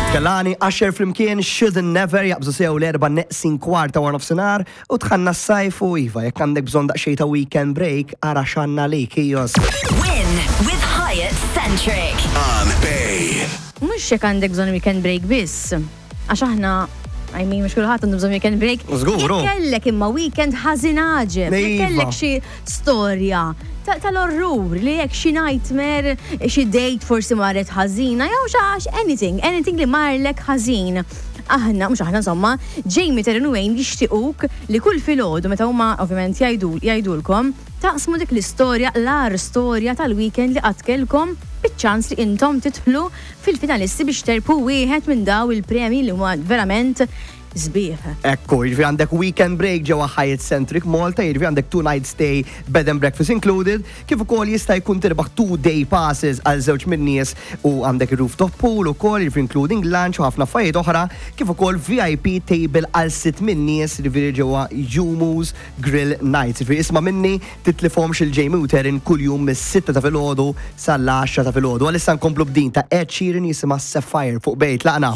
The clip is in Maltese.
Kehlani, Usher flimkien, Should Never, jaqbżu sew l-erba neqsin kwarta wara nofsinhar u dħalna s-sajf u iva, jekk għandek bżonn daqsxejn ta' weekend break, ara x'għandna għalik, ijos. Win with Hyatt Centric. On Bay. Mhux jekk għandek bżonn weekend break biss. Għax aħna, I mean, mhux kulħadd għandu bżonn weekend break. Żgur, hu. Jekk kellek imma weekend ħażin għaġeb, jekk Iva. kellek xi storja tal-orrur li jekk xi nightmare, xi date forsi marret ħażina, jew xi għax anything, anything li marlek ħażin. Aħna, mhux aħna insomma, Jamie, Taryn u Wayne jixtiequk li kull filgħodu meta huma ovvjament jgħidulkom taqsmu dik l-istorja, l-agħar storja tal-weekend li qatt kellkom, biċ-ċans li intom tidħlu fil-finalisti biex terbħu wieħed minn daw il-premji li huma verament sbieħ. Ekku, jiġifieri għandek weekend break ġewwa Hyatt Centric Malta, jiġifieri għandek 2 night stay, bed and breakfast included, kif ukoll jista' jkun tirbaħ 2 day passes għal żewġ min-nies u għandek rooftop pool ukoll, jiġifieri including lunch u ħafna affarijiet oħra, kif ukoll VIP table għal sitt min-nies, jiġifieri ġewwa Jumus Grill Nights. Jiġifieri isma' minni, titlifhomx il-Jamie u Taryn kuljum mis-6 ta' filgħodu sal-10 ta' filgħodu. Għalissa nkomplu b'din ta' Ed Sheeran jisimha Sapphire fuq Bay. Tlaqna.